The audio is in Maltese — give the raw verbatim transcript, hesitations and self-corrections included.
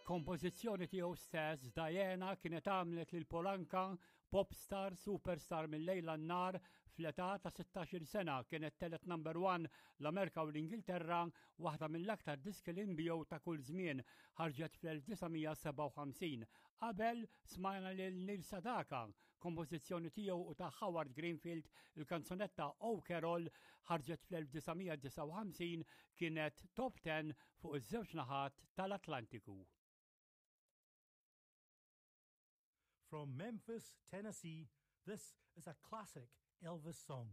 Kompożizzjoni tiegħu stess, Diana kienet għamlet lil Paul Anka popstar superstar mil-lejl għan-nhar fl-età ta' sittax-il sena. Kienet telgħet number one l-Amerika u l-Ingilterra, waħda mill-aktar diski li nbiegħu ta' kull żmien, ħarġet fl-elf disa' mija sebgħa u ħamsin. Qabel smajna lil Neil Sedaka, kompożizzjoni tiegħu u ta' Howard Greenfield, il-kanzunetta Oh Carol ħarġet fl-elf disa' mija disgħa u ħamsin, kienet top ten fuq iż-żewġ naħat tal-Atlantiku. From Memphis, Tennessee, this is a classic Elvis song.